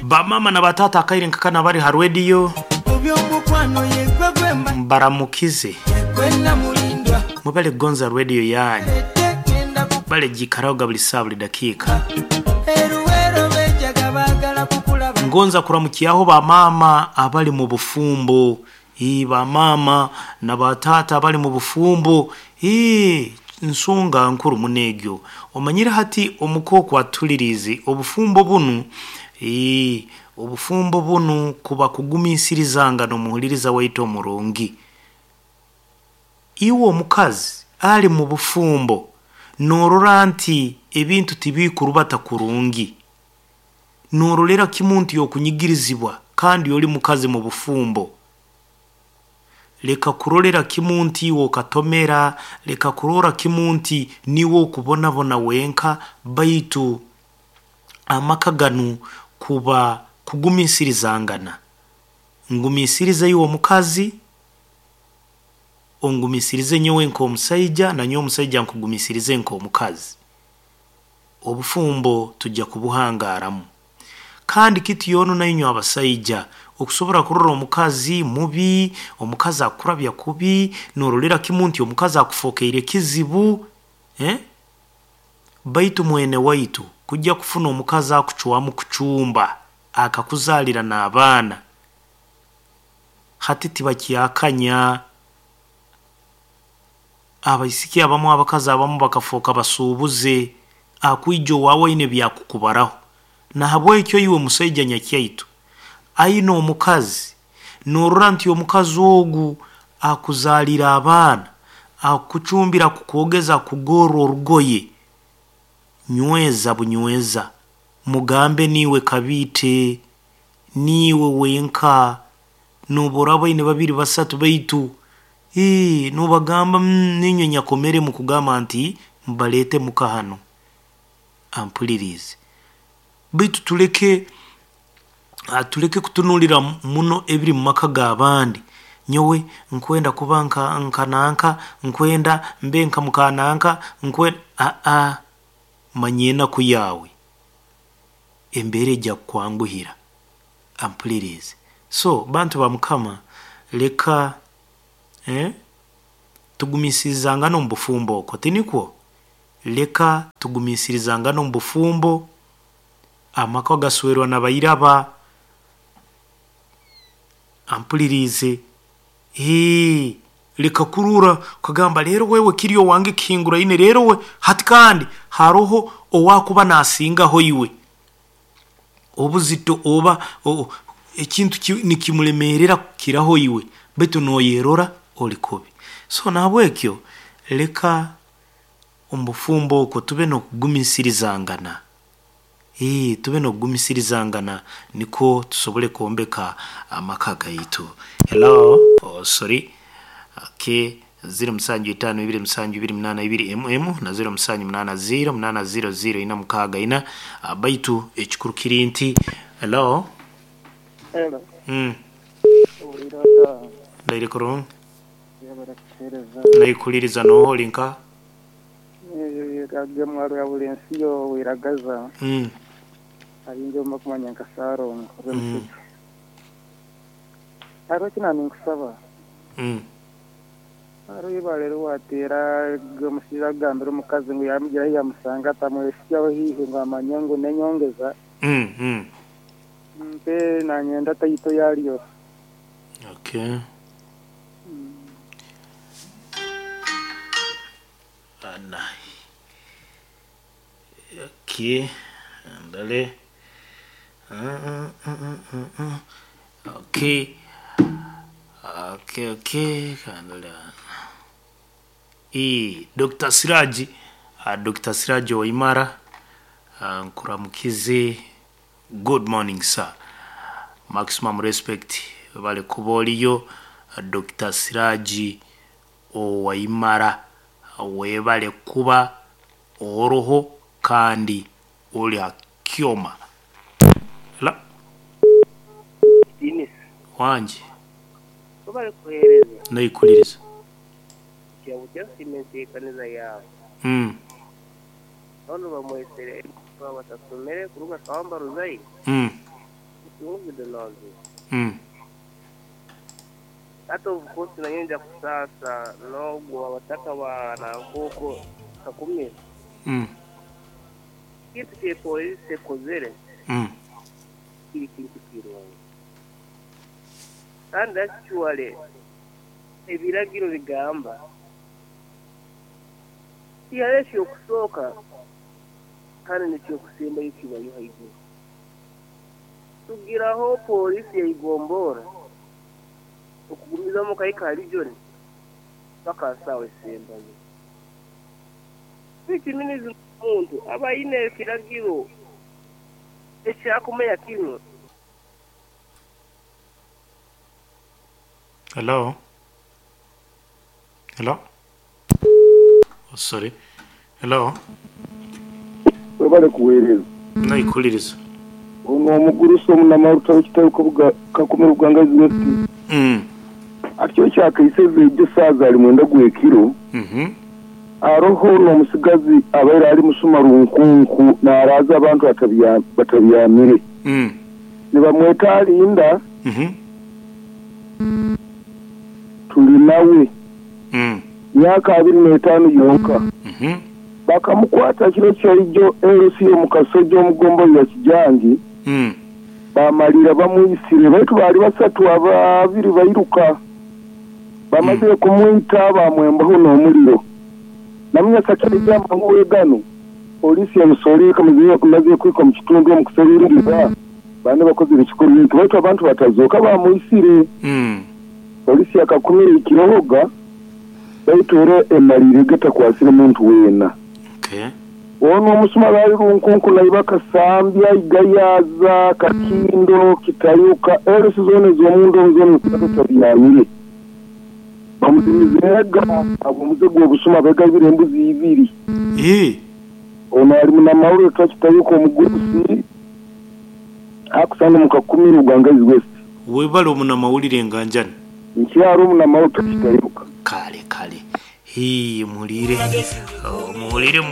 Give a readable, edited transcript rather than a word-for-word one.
Bamama na batata akaire nkakana bari ha radio mbaramukize mubale gonza radio yanyu bale jikaraoga buli saa buli dakika. Ngonza kuramukiyaho bamama abali mu bufumbo, bamama na batata abali mu bufumbo. Nsonga nkuru munegyo omanyire hati omukoko atulirize obufumbo bunu. Obufumbo bunu kuba kugumiisirizanga n'omuhuliriza waitu omurungi. Iwe omukazi ali mu bufumbo norora nti ebintu tibikurubata kurungi, norolera kimu nti okunyigirizibwa kandi oli mukazi mu bufumbo. Leka kurolera kimu nti iwe okatomera, leka kurora kimu nti niwe okubonabona wenka, baitu amaka ganu kuba kugumiisirizangana. Ngumiisirize iwe omukazi, ongumiisirize nyowe nk'omusaija, na nyowe omusaija nkugumiisirize nk'omukazi. Obufumbo tujja kubuhangaramu. Kandi kitu yono nainywe abasaija okusobora kurora omukazi mubi, omukazi akurabya kubi, norolera kimu nti omukazi akufokeire kizibu, Baitu mwene waitu kujja kufuna omukazi akucwamu kucumba akakuzaalira n'abaana, hati tibakyakanya. Abaisiki abamu, abakazi abamu bakafoka basuubuze, akwija owaawe aine byakukubaraho. Nahabwekyo iwe musaija nyakyaitu aine omukazi, norora nti omukazi ogu akuzaalira abaana, akucumbira, akukwogeza, akugorra orugoye, nyweza bunyweza, mugambe niiwe kabiite, niiwe wenka, nobu oraaba oine babiri basatu baitu nobagamba niinywe nyakomere mukugamba nti mbaleete muka hanu ampuliriize. Baitu tuleke kutunuulira muno ebiri mu maka g'abandi. Nyowe nkwenda kuba nka nanka, nkwenda mbe nka mukananka, nkwenda manya enaku yaawe, embeera ejya kukwanguhira ampuliriize. So bantu ba mukama, leka tugumiisirizangane omu bufumbo okwo, tinikwo? Leka tugumiisirizangane omu bufumbo, amaka gaswerwa nabairaba, ampuliriize. Leka kurora okagamba leero wewe kiri owange kihinguraine, leero we hati kandi haroho owakuba nasingaho iwe obuzito oba ekintu nikimulemeerera kukiraho iwe, baitu noyerora oli kubi. So nahabwekyo leka omu bufumbo okwo tube n'okugumiisirizangana, tube n'okugumiisirizangana nikwo tusobole kwombeka amaka gaitu. Hello, oh sorry, okay, 07 5 2 7 2 8 2 mm na 07 8 0 8 0 0 4 6 4. Baitu ekikuru kiri nti hello. Hello. Owulira ota? Ndaire kurungi. Yebare kutuheereza. Naikuliriza noha oli nka? Agemwa rwa buli nsi yo wiragaza. Arinze omba kumanya nka Sarongo Rwemusheke. Hariho eki naninkusaba. Hariho eibare riwateera omushaija akugambira omukazi ngu yamugira ahu yamusanga atamwehitsyaho haihi ngu amanye ngu nenyongeza. Mpe nanyenda taito yaryo. Okay. Ana. Okay. Ndale. Okay. Okay, okay. Kandale. Dr. Siraji, Dr. Siraji Waimara, nkuramukize. Good morning sir. Maximum respect bale kuba oliyo Dr. Siraji Owaimara, webale kuba oroho kandi oli hakyoma. La Denis, wanje webale kuheereza. Naikuliriza. Kyabukya nsiima enteekaniza yaawe. Banu bamwesere batasomere kuruga Kawamba Ruzaire. Mucunguzi Donald. Mm. Hata of course nayo nja kusaasa n'ogwo abataka ba Nankuuko Kakumiro. Kintu kye polisi ekozere kiri kintu kirungi. Kandi actually ebiragiro bigamba tihariho ekyokusooka kandi n'ekyokusembayo kibayo haiguru. Tugiraho polisi yaigombora okugumizamu okahika ahari John paka aha saawa esembayo. Which means omuntu aba aine ekiragiro ekyakumanya kinu. Hello? Hello? Oh, sorry. Hello? Webale kuweereza. Naikuliriza. Ono omugurusi omunamaruta w'ekitebe Kakumiro Bugangaizi West. Ati kyakaiseze ejo saaza ali mwenda gw'ekiro. Aroho n'omusigazi abaire ali musuma runkunku n'araaza abantu batabyamire. Nibamweta alinda. Tuli nawe. Myaka 25 yonka. Bakamukwata kiro kyaijo LC omu Kasojo omu ya Kijangi. Bamalira bamwisire baitu baali basatu ababiri bairuka. Bamazire kumwita bamwembaho n'omuliro. Namunyasa kyajamba gano polisi yamusoolire kamaze kwika mu kitundu omu kuseruliza bane bakozire ekikorwa eki baitu abantu batazooka bamwisire. Polisi yakakumira ekirohoga baitu era emalire gatakwasire muntu weena. Okay. Ono omusuma bali runkunku naiba Kasambya, Igayaza, Kakindo, Kitayuka, LC zone z'omundu zone zitabyamire. Bamuzimizega abo omuze gw'obusuma begabire embuzi ibiri. Ono ali munamawulire twakitayuka omugurusi akusanga mu Kakumiro Bugangaizi West. Webale omunamawulire nganjani. Nkyaro omunamawulire twakitayuka. Kale kale. Hii muwulire. Oh, muwulire.